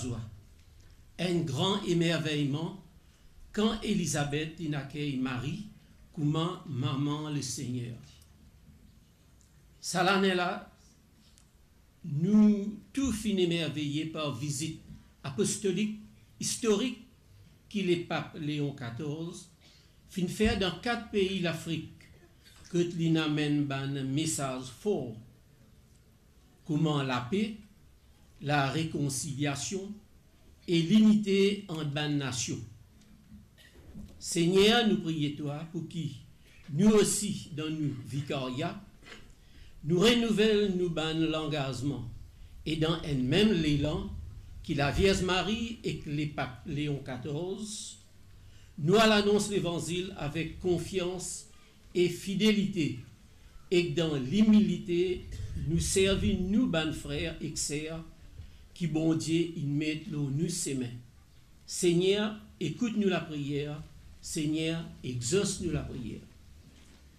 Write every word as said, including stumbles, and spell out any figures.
lazwa, enn gran emerveyman kan Elizabet inn akey Marie kouma mama Lesegner. Sa lane la, nou tou finn emerveye par vizit apostolik istorik ki Lepap Leon katorz finn fer dan kat pei Lafrik, kot linn amenn bann mesaz for, kouma lape, larekonsiliasion e linite ant bann nasion. Segner, nou priye twa pou ki nou osi, dan nou vikaria, nou renouvel nou bann langazman e dan enn mem lelan ki Lavierz Marie ek Lepap Leon katorz, nou al anons Levanzil avek konfians e fidelite, ek dan limilite nou servi nou bann frer ek ser ki Bondie inn met lor nou sime. Segner, ekout nou lapriyer. Segner, exors nou lapriyer.